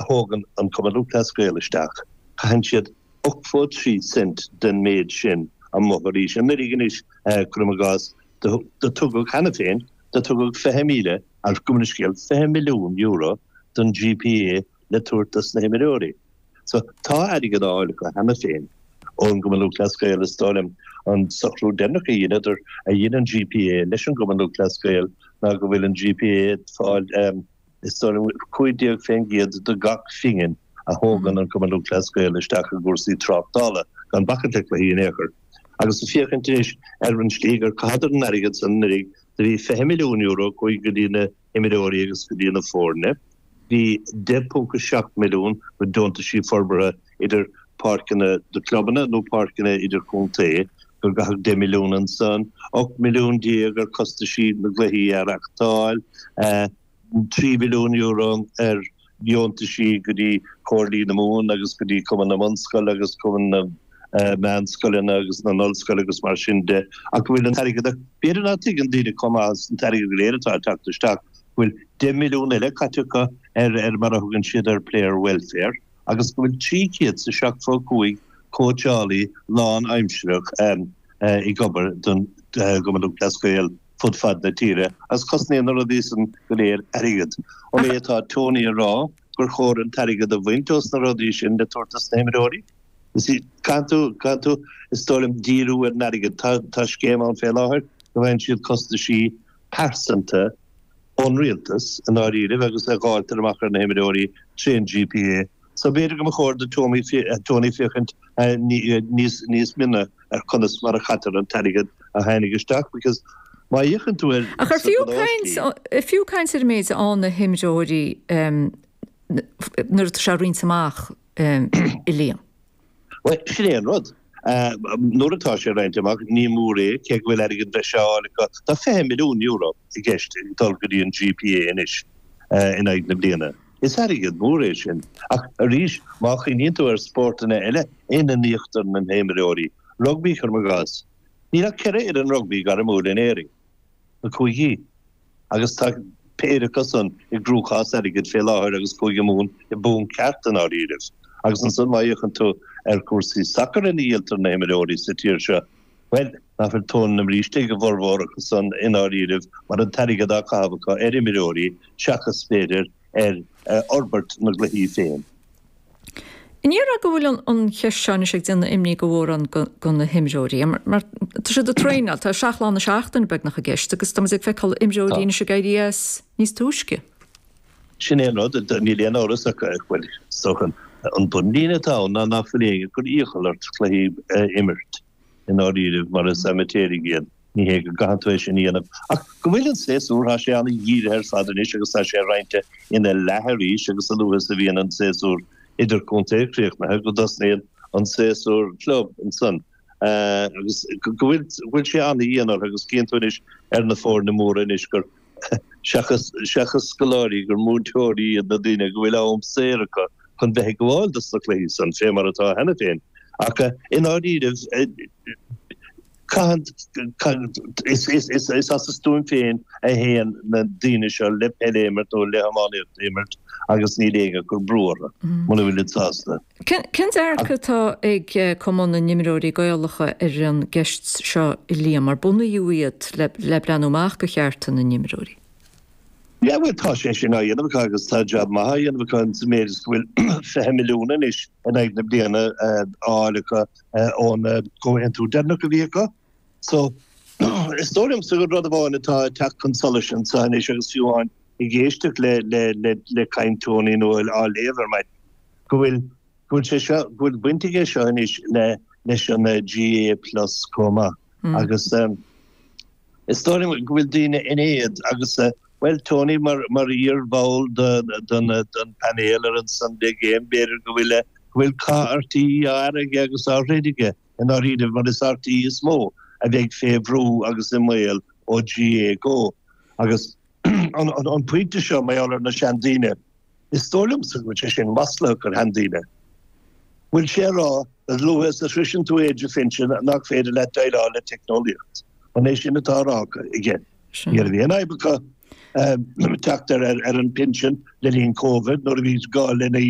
a thógann an Cumann Lúthchleas Gael isteach, caitheann siad 83 cent den méid sin amuigh arís. Anuraidh anois, cuirim i gcás, do tugadh cheana féin, do tugadh 20,000, gabh mo leithscéal, €20 milliún don GPA le tabhairt dos na himreoirí. So, tá airgead á fháil acu cheana féin ón gCumann Lúthchleas Gael, is dóigh liom. An socrú deireanach a dheineadar, a dhein an GPA leis an gCumann Lúthchleas Gael ná go bhfuil an GPA ag fáil, is dóigh liom, 15% de gach phingin a thógann an Cumann Lúthchleas Gael isteach i gcúrsaí tráchtála, gan bacaint le cluichí in aon chor. Agus ag féachaint anois ar an slí gur chaitheadar an airgead san anuraidh, do bhí €20 milliún chuaigh go dtí na himreoirí agus go dtí na foirne. Bhí 10.7 milliún go deontaisí forbartha idir páirceanna do clubanna nó páirceanna idirchontae, gur caitheadh 10 milliún ansan, 18 milliún ar chostaisí na gcluichí a reachtáil, €3 mhilliún ar dheontaisí go dtí Comhairlí na Mumhan agus go dtí Cumann na mBunscol agus Cumann na Meánscoileanna agus na nOllscoil agus mar sin de, ach go bhfuil an t-airgead, ach b'fhéidir ná tuigeann daoine chomh maith is an t-airgead go léir atá ag teacht isteach, go bhfuil 10 milliún eile caite acu ar ar mar a thugann siad ar player welfare agus go bhfuil 375 cóitseálaí lán-aimsireach ag obair don gCumann Lúthchleas Gael fud fad na tíre agus cosnaíonn na rudaí san go léir airgead. An é atá Tony a rá gur chóir an t-airgead a bhaint ós na rudaí sin le tabhairt dos na himreoirí? You see, caithfidh tú, caithfidh tú, is dóigh liom, díriú ar an airgead. Tá, tá scéim ann fé láthair go bhfaigheann siad costaisí pearsanta ón rialtas i ndáiríribh agus a dháiltear amach ar na himreoirí trén GPA. So b'fhéidir go mba chóir do Tony Tony féachaint níos, níos mine ar conas mar a chaitear an t-airgead a tháinig isteach because má fhéachann tú ar Ach ar fiú caint, ar fiú caint ar an méid a fhaigheann na himreoirí nuair atá sé roinnte amach? a Liam. Bhuel, sin é an rud. Nuair atá sé roinnte amach, ní mór é, cé go bhfuil airgead breise á fháil acu. Tá €20 milliún i gceist ag dul go dtí an GPA anois in aghaidh na bliana. Is airgead mór é sin. Ach arís, má chuimhníonn tú ar spórtanna eile ina n-íoctar na himreoirí, rugbaí, cuirim i gcás, níl ach ceithre fhoireann rugbaí gairmiúil in Éirinn, na cúigí. Agus tá péire acu san i gcruachás airgid fé láthair agus Cúige Mumhan i bponc ceart i ndáiríribh. Agus ansan má fhéachann tú ar chúrsaí sacair ina dhíoltar na himreoirí sa tír seo, bhuel, nach bhfuil tóin na mbríste ag a bhformhór acu san i ndáiríribh mar an t-airgead á chaitheamh acu ar imreoirí seachas, b'fhéidir, ar fhorbairt na gcluichí féin. An ndéarfá go bhfuil an cheist seo anois ag déanamh imní go mhórán do na himreoirí? Mar tá siad ag traenáil, tá 7 lá na seachtaine beagnach i gceist agus tá muid ag feiceáil imreoirí anois ag éirí as níos túisce. Sin é an rud, níl aon amhras ach bhuel, is dócha an bunlíne atá ann ná nach bhfuil éinne ag cur iachall ort cluichí a imirt i ndáiríribh mar is amaitéaraigh iad. Ní hé go gcaitheann tú é sin a dhéanamh, ach go bhfuil an séasúr, tá sé an-dhírithe ar fad anois agus tá sé roinnte ina leath arís agus a luaithe is a bhíonn an séasúr idirchontae críochnaithe go dtosnaíonn an séasúr club ansan agus go bhfuil, go bhfuil sé an-dhian orthu agus cíonn tú anois ar na foirne móra anois gur seachas, seachas scoláirí gur múinteoirí iad na daoine go bhfuil am saor acu chun bheith ag gabháil dos na cluichí san fé mar atá cheana féin. Ach i ndáiríribh, Caitheann, is as a stuaim féin a théann na daoine seo le peil a imirt nó le hiománaíocht a imirt agus níl éinne ag cur brú orthu, muna bhfuilid sásta. Cén dearcadh atá ag Cumann na nImreoirí Gaelacha ar an gceist seo a Liam, mar bunaíodh iad le breathnú amach do chearta na n-imreoirí? Yeah bhuel tá sé sin á dhéanamh acu agus tá jab maith á dhéanamh acu sa méid is go bhfuil 20 milliún anois in aghaidh na bliana á fháil acu ón gcomhaontú deireanach a bhí acu. So is dóigh liomsa gur rud amháin atá ag teacht chun solais anseo anois agus fiú amháin ag éisteacht le le le le caint Tony nó á léamh ar maidin go bhfuil go bhfuil sé seo go bhfuil baint aige seo anois le leis an GAA Plus chomh maith agus Is dóigh liom go bhfuil daoine in éad agus, bhuel, Tony mar mar iar-bhall den den painéal ar an Sunday Game, b'fhéidir go bhfuil go bhfuil cath RTÉ á fhearadh aige agus á throid aige i ndáiríribh mar is RTÉ is mó a bheidh fé bhrú agus i mbaol ó GAAGO. Agus an an pointe seo mar gheall ar na seandaoine, Is dóigh liomsa go bhfuil sé sin maslaitheach ar sheandaoine. Bhfuil sé a rá, a luaithe is a shroiseann tú aois an phinsin nach féidir leat déileáil le teicneolaíocht? An é sin atá á rá aige? Ní raibh aon fhadhb acu teacht ar an bpinsean le linn Covid nuair a bhí gá lena.